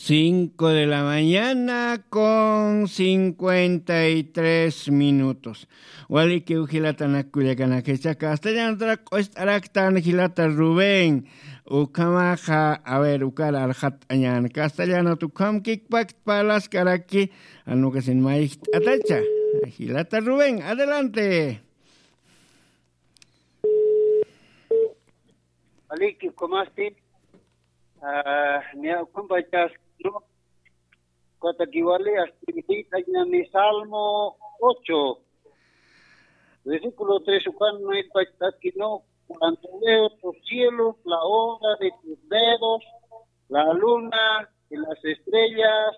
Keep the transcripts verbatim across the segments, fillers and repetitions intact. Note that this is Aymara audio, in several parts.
Cinco de la mañana con cincuenta y tres minutos. Walikiw jilatanak kullakanaka, jichha castellanotarak q'ust'araktan jilata Rubén. Ukhamaxa, a ver, ukar arxat'añän. Castellanot ukham kikpakt parlaskaraki, anukasin mayjt'atacha. Jilata Rubén, adelante. Aliki, ¿cómo estás? Ah, niya, ukhambachas, ¿no? Katakiwali, hasta mi Salmo ocho, versículo tres, ukan, ¿no? Irpachas, ¿no? Cuando veo tus cielos, la obra de tus dedos, la luna y las estrellas,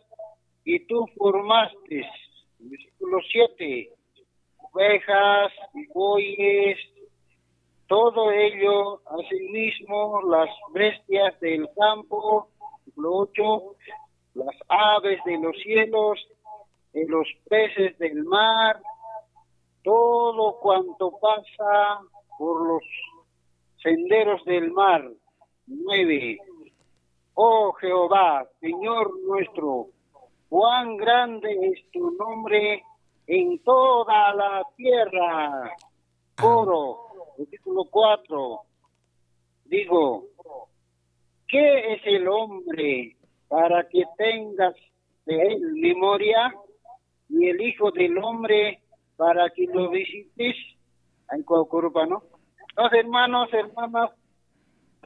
y tú formaste. Versículo siete, ovejas y bueyes, todo ello, asimismo las bestias del campo, versículo ocho, las aves de los cielos, y los peces del mar, todo cuanto pasa por los senderos del mar. Nueve. Oh Jehová, Señor nuestro, cuán grande es tu nombre en toda la tierra. Coro, versículo cuatro. Digo, ¿qué es el hombre para que tengas de él memoria? Y el hijo del hombre para que lo visites. Ay, Cuauhcurupano. Entonces, hermanos, hermanas,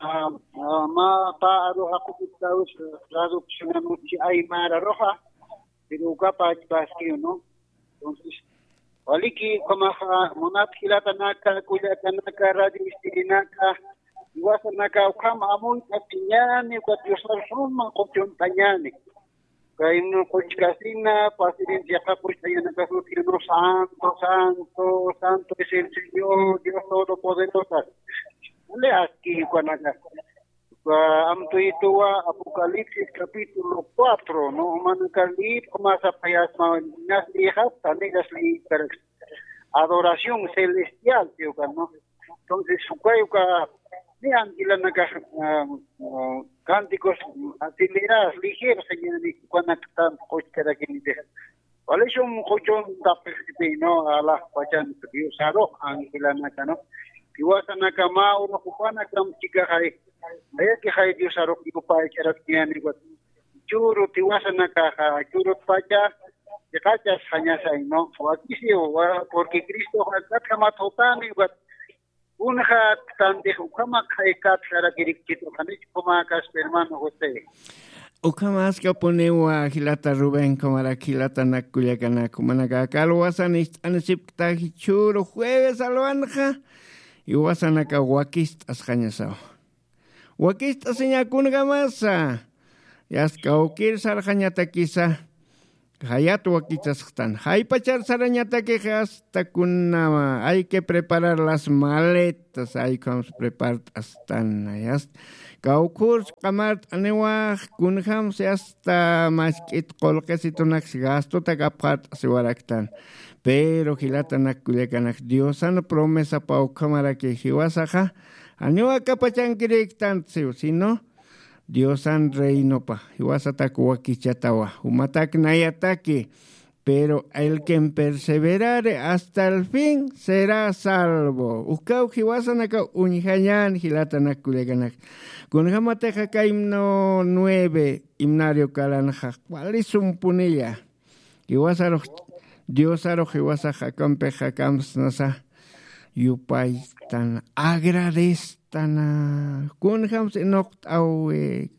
ah, ah, mä pä arux aqupitaw, traducción anuchi aymar aruxa, pero ukapa achpaskiw, ¿no? Entonces, waliki, ukhamaxa, munat jilatanaka, kullakanaka, radio ispirinaka, jiwasanaka, ukham amuyt'añäni, ukat Diosar suma quchunt'añäni. Kaynu quchkasina, pasirin chiqapuchtañanakasuti, ¿no? Santo, santo, santo es el Señor, Dios Todopoderoso. Le aski, ukanaka. Uka amtuyituwa Apocalipsis capítulo cuatro, ¿no? Umanaka leer, ukhama sapayasma, nas leerxapta, nigas leer, adoración celestial, ¿sí? Uka, ¿no? Entonces, ukay uka, niyan jilanaka, ah, ah, cánticos acelerados, ligeros, señor, ni ukanaktan quchkarakiniti. Wali sum quchuntapxiti, ¿no? Alaxpachan Diosarux angelanaka, ¿no? Jiwasanaka mä urux jupanakam chikaxay, ayakixay Diosarux yupaycharakñäni, ukat chüru jiwasanakaxa, chürutpacha chiqachasxañasay, ¿no? Wakisiw, wa-, porque Cristox akatjamat jutani, ukat kunxat tantix ukhamakxay katjarakirikchit, ukanich ukhamakas, hermano José. Ukhamaskapuniwa jilata Rubén, ukhamarak jilatanak kullakanak, jumanaka aka alwasan ist'anisipkta jichhüru jueves alwanxa, jiwasanaka wakist'asxañasaw. Wakist'asiña kunjamasa, yasta kawkir sarxañatakisa, jayat wakichasxtan. Jaypachar sarañatakix hasta kunama, hay que preparar las maletas, ay, ukhams prepart'astan, yasta. Kawkhurs q'amart'aniwax, kunjams yasta mask'it qullqisitunaks gastotak apxart'asiwaraktan. Pero jilatanak kullakanak, Diosan promesapaw ukhamaraki jiwasaxa, janiw aka pachankirïktantsiw, sino Diosan reinopa, jiwasatak wakichatawa, jumatak nayataki, pero el quien perseverare hasta el fin será salvo. Ukaw jiwasanaka uñjañän jilatanak kullakanak. Kunjamatix aka himno nueve, himnario kalanxa, wali sumpunilla. Jiwasarux, Diosarux jiwasax akampix akamsnasa yupaytan, agradestana. Kunjams inuqt'awi.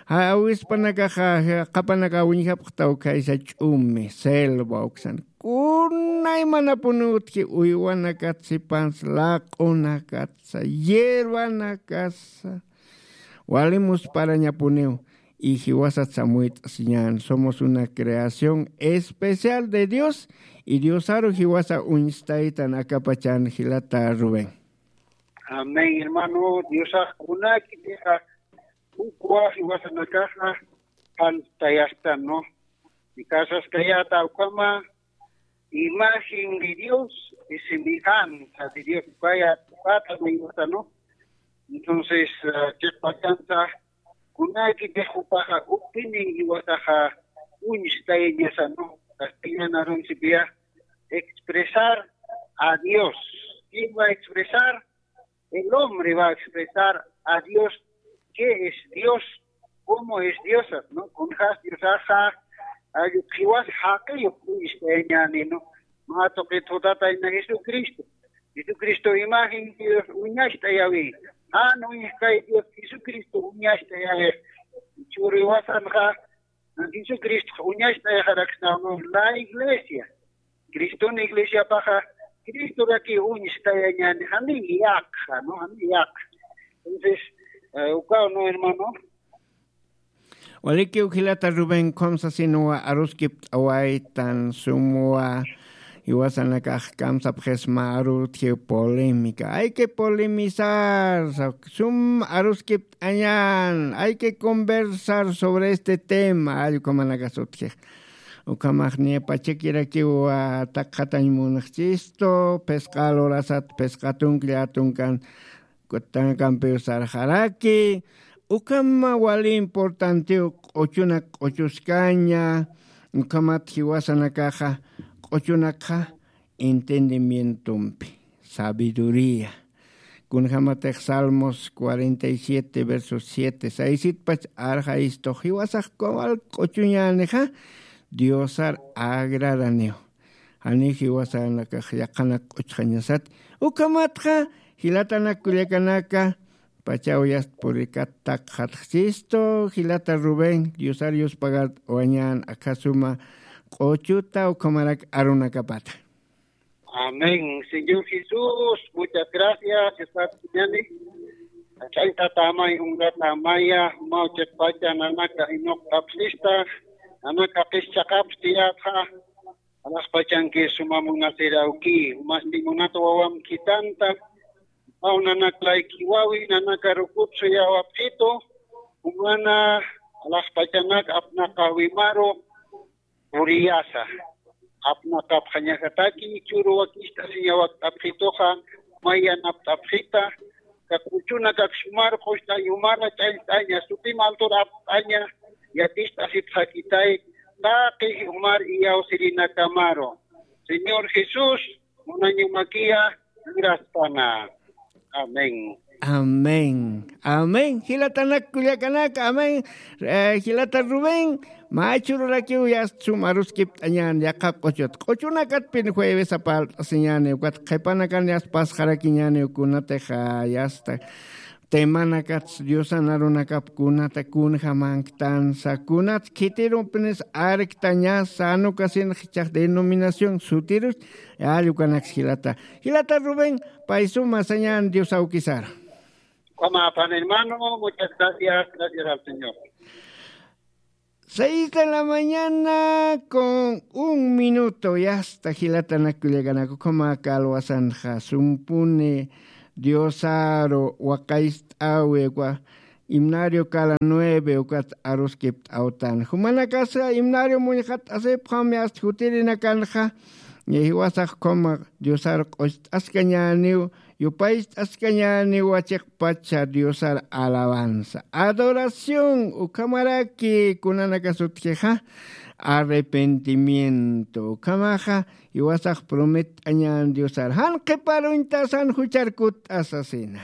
Awispanakaxa, qhapanaka uñjapxtaw khaysa ch'umi, selva uksan. Kunaymanapuni utji uywanakat sipans, laq'unakatsa, hierbanakatsa. Wali musparañapuniw. Y jiwasat samuyt'asiñän, somos una creación especial de Dios, y Diosaru jiwasa uñstaytan akapachan jilata Rubén. Amén, hermano, Diosax kunakitixa, ukwa jiwasanakaxa, pantayastan, ¿no? Y casas kayata ukhama, imagen de Dios y semejanza de Dios, vaya, pata de Dios, ¿no? Entonces, ah, chiqpachansa, Kunakitix jupaxa uktini jiwasaxa uñstayañasa, ¿no? Castellan arunsipiya expresar a Dios. ¿Quién va a expresar? El hombre va a expresar a Dios, qué es Dios, cómo es Dios, ¿no? Kunjas Diosaxa, ay, jiwas jaqi uñstayañani, ¿no? Mä tuqit jutata ina Jesucristo. Jesucristo imagen Dios uñacht'ayawi. Jan uñjkay Dios Jesucristo uñacht'ayawi. Churiwasanxa, Jesucristo uñacht'ayaxaraksnaw, ¿no? La iglesia. Criston iglesiapaxa, Cristoraki uñstayañani, jani yaqxa, ¿no? Jani yaqxa. Entonces, eh, ukaw, ¿no, hermano? Walikiw jilata Rubén, khumsasinuwa aruskipt'awaytan sumwa jiwasanakax kamsapxisma arutjiw polémica. Hay que polemizar, sa-, sum aruskipt'añan, hay que conversar sobre este tema, allkumanakasutjix. Ukhamax niya pachakirakiw, ah, takxatañ munxchistu, phisqa lurasat, phisqa tunklla tunkan, kutanakampiw sarxaraki, ukhama wali importantiw q'uchunak q'uchuskaña, ukhamat jiwasanakaxa, q'uchunakxa, entendimientompi, sabiduría. Kunjamatix Salmos cuarenta y siete, versos siete, seis pach arxayistu, jiwasax kawal q'uchuñänixa, Diosar agradaniw. Jani jiwasanakax yaqanak q'uchxañasat. Ukhamatxa, jilatanak kullakanaka, pachaw yast purikat takxatxchistu, jilata Rubén, Diosar yuspagart'awañän akha suma q'uchuta ukhamarak arunakapata. Amén. Señor Jesús, muchas gracias. Estás ñani. Ch'añtatamay, ungatamaya, mawchiqpacha, nanaka inuqt'apsista, nanaka qischaxapstiyatxa. Alaxpachanki suma munasirawki, masti munat wawam khithanta, aw nanaka layki wawi, nanaka rukut suyawapxitu, umana alaxpachanak apnaqawimaru puriyasa. Apnaqapxañasataki, churu wakicht'asiñawakt'apxituxa, mayanapt'apxita, ka q'uchunakak sumar q'ucht'añ umara ch'añt'aña, sutim altur apt'aña, yaticht'asipxakitay, taqi umar iyawsirinakamaru. Señor Jesús, munañamakiya, luraspana. Amén. Amén. Amén. Jilatanak kullakanaka, amén. Eh, jilata Rubén, mä chururakiw yast sum aruskipt'añän yaqha q'uchut. Q'uchunakatpin jueves apalt'asiñäni, ukat qhipanakan yast pasxarakiñäni, kunatix, ah, yasta. Temanakats Diosan arunakap kunata kunjamanktansa, kunats khitirumpinis arktañasa, anukasinx jichhax denominación sutirus, allkukanaks jilata. Jilata Rubén, pay suma sañän Dios awkisar. Ukhama, pan hermano, muchas gracias, gracias al Señor. Seis de la mañana con un minuto, yasta jilatanak kullakanaka, ukhama kalwasanxa, sumpuni Diosaru waqayst'awi, ukwa himnario kala nueve, ukat aruskipt'awtan. Jumanakasa himnario muñxat'asipxam, yasta jutirinakanxa, jiwasax ukhama Diosaru q'ucht'askañäniw, yupaycht'askañäniw wachiqpacha Diosar alabanza. Adoración, ukhamaraki kunanakasutjixa, arrepentimiento. Ukhamaxa, jiwasax promett'añän Diosar. Jan qhiparuñtasan juchar kutt'asasina.